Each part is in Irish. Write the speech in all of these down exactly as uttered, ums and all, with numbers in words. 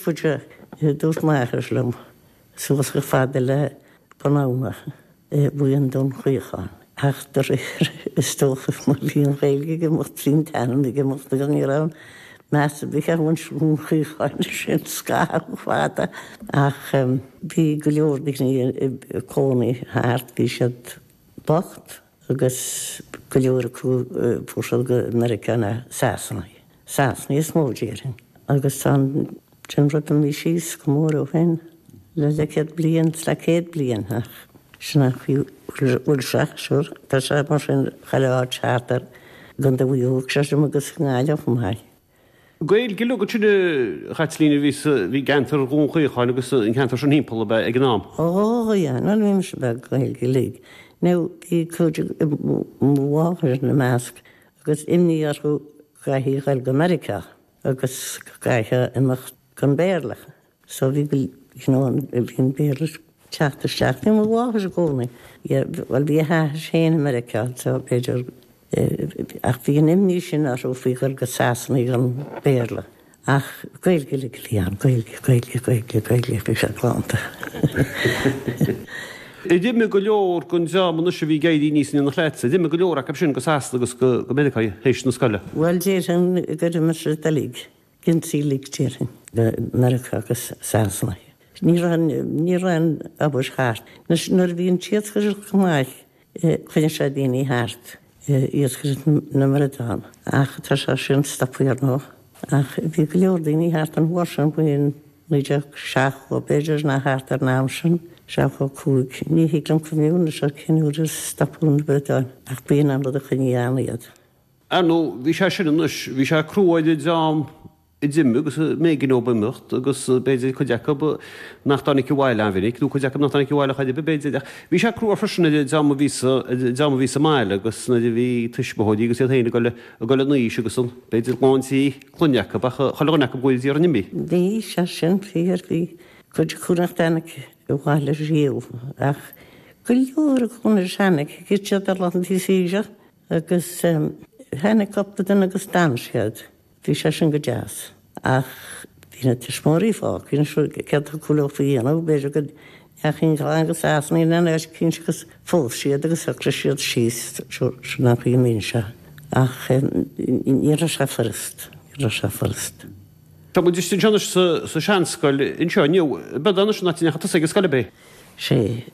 faide, dúirt m'athair liom, suas chomh fada le Bun Abhann, Buíon Dún Chaocháin. Ach de réir, is dócha, má bhí an Ghaeilge ag imeacht, bhí an t-ainm ag imeacht agus ní raibh meas ar bith ar mhuintir Dhún Chaocháin sin scaitheamh fada. Ach bhí go leor daoine ag cónaí thart, bhí siad bocht agus go leor acu fuair siad go Meiriceá ná Sasana. Sasana is mó déarfainn. Agus tá an sin rud imithe síos go mór ó shin le leathchéad bliain, is le céad bliain ach sin an chaoi a bhfuil sé, sure. Tá sé mar sin chuile áit thart ar gContae Mhaigh Eo, creidim, agus i nGaillimh chomh maith. Gaeilge uilig ansin a Chaitlín a bhí sa, bhí i gceantar Dhún Chaocháin agus an ceantar sin thimpeall ab ea ag an am? Ó yeah, nuair a bhí mise beag Gaeilge uilig. Now bhí cuid mo mháthair ina measc agus imní orthu go gcaithfí a ghoil go Meiriceá agus go gcaithfeá imeacht gan Béarla. So bhí go, you know, bhí an Béarla ag teacht isteach. Bhí mo mháthair i gcónaí, yeah, bhuel bhí a hathair féin i Meiriceá so b'fhéidir Ach bhí an imní sin orthu faoi dhul go Sasana gan Béarla. Ach Gaeilge uilig a bhí ann, Gaeilge, Gaeilge, Gaeilge, Gaeilge, bhí sé galánta. Ar imigh go leor den dream anois a bhí ag éirí aníos in éineacht leatsa, ar imigh go leor acu sin go Sasana agus go Meiriceá théis na scoile? Bhuel, déarfainn gur imigh siad uilig, ionsaí uilig déarfainn, go Meiriceá agus Sasana. Ní raibh, ní raibh an obair thart. Anois nuair a bhí an t-iascaireacht go maith, Choinnigh sé daoine thart, iascaireacht na mbradán, ach tá sé sin stoptha ar ndóigh. Ach bhí go leor daoine thart an uair sin, faoin naoi déag seachtó b'fhéidir, nó thart ar an am sin, seachtó cúig. Ní thig liom cuimhniú anois ar cén uair a stopadh na bradáin, ach b'in an rud a choinnigh ann iad. Ar ndóigh, bhí sé sin anois, bhí sé crua ar an dream a d'imigh agus b'éigean dóibh imeacht agus b'fhéidir cuid acu nach dtáinig abhaile an-mhinic nó cuid acu nach dtáinig abhaile chor ar bith b'fhéidir ach bhí sé crua freisin ar an dream a bhí sa dream a bhí sa mbaile agus nuair a bhí tuismitheoirí agus iad féin ag dul ag dul in aois agus an b'fhéidir lán tí clainne acu ach chuile dhuine acu ag d'iarraidh iarraidh imeacht. Bhí sé sin fíor, bhí cuid acu nach dtáinig abhaile riamh ach go leor acu nuair a tháinig, thit siad ar laethanta saoire agus tháinig cúpla duine agus d'fhan siad. Bhí sé sin go deas. Ach bhí na tuismitheoirí fágtha, anois céard a thiocfadh leo a dhéanamh, b'fhéidir go ndeachaigh an chlann go Sasana nó in áit eicínt agus phós siad agus shocraigh siad síos, sin an chaoi a mbíonn sé. Ach ní raibh sé furast, ní raibh sé furast. Tá muid istigh anseo anois sa seanscoil anseo inniu. Ab é anois an áit a ndeachaigh tusa ag an scoil, ab é? Sea,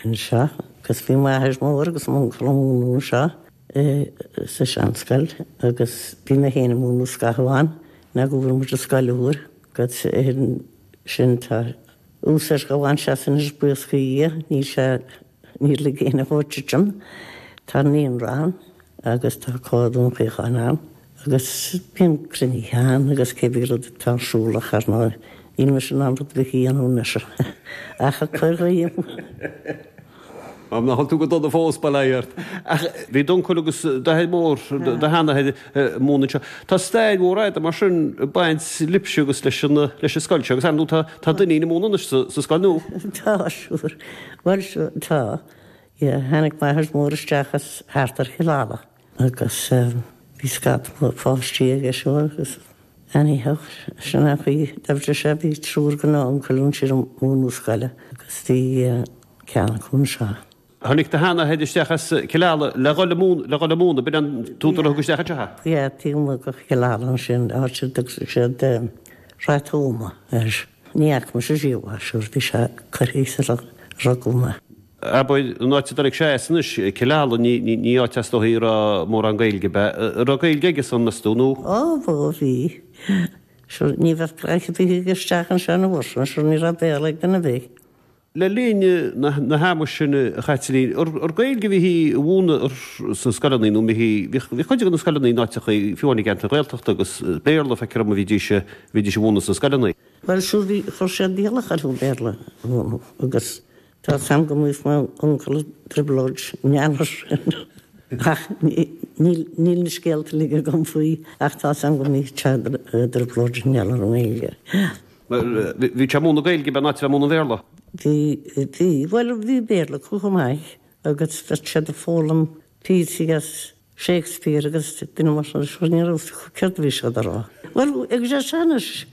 anseo agus bhí m'athair mór agus m'uncail ag múineadh anseo. sa seanscoil agus bhí mé féin ag múineadh scaitheamh ann nó go bhfuair muid an scoil úr agus sin tá úsáid á bhaint as anois buíochas do Dhia níl sé níor lig éinne dhó titim tá naíonra ann agus tá Comhar Dhún Chaocháin ann agus bíonn cruinnithe ann agus cébí rud atá ar siúl ach ar ndóigh níl mise in ann rud ar bith a dhéanamh anois ach ag cur guím. Nach bhfuil tú go dona fós, bail ó Dhia ort. Ach bhí d'uncail agus d'athair mór, do sheanathair, ag múineadh anseo. Tá stair mhór fhada mar sin ag baint libhse agus leis an leis an scoil seo agus ar ndóigh tá tá d'iníon ag múineadh anois sa sa scoil nua. Tá, sure. Bhuel, sure, tá. Yeah, tháinig m'athair mór isteach as thart ar Chill Ala agus bhí scata páistí aige seo agus anyhow, sin an chaoi a d'oibrigh sé, bhí triúr de na uncail ansin ag múineadh scoile agus bhí ceann acu anseo. Tháinig do sheanathair isteach as Cill Ala le dhul ag múineadh, le dhul ag múineadh, b'in an t-údar a thug isteach anseo é? Yeah, taobh amuigh de Chill Ala ansin, áit a dtugtar siad Rath Tuama air. Ní fhaca mise riamh é, sure, bhí sé curtha sular rugadh mé. Abair, an áit a dtáinig sé as anois, Cill Ala, ní, ní, ní áit is dóichí a raibh mórán Gaeilge ab ea? An raibh Gaeilge aige san, meas tú, nó? Ó, bhí, bhí. Sure, ní bheadh craic ar bith aige isteach anseo an uair sin, sure, ní raibh Béarla ag duine ar bith. Le linn na hama sin, a Chaitlín, ar Gaeilge a bhíthí a mhúineadh sna scoileanna nó bhí bhí cuid de na scoileanna in áiteachaí, fiú amháin i gceantair Ghaeltachta agus Béarla, feictear dom, a bhídís a bhídís a mhúineadh sna scoileanna. Bhuel, sure, bhí, chuir siad iallach orthu Béarla a mhúineadh agus tá 's a'm go mbíodh m'uncail i dtrioblóid i ngeall air sin ach níl níl na scéalta uilig agam faoi ach tá 's a'm go mbíodh sé i dtrioblóid i ngeall ar an nGaeilge. Bhí sé ag múineadh Gaeilge in áit a bheith ag múineadh Béarla? Bhí, bhí, bhuel bhí Béarla acu chomh maith agus bheadh siad ag foghlaim píosaí as Shakespeare agus duine mar sin, sure ní raibh fhios acu céard a bhí siad a rá. Bhuel agus é sin anois,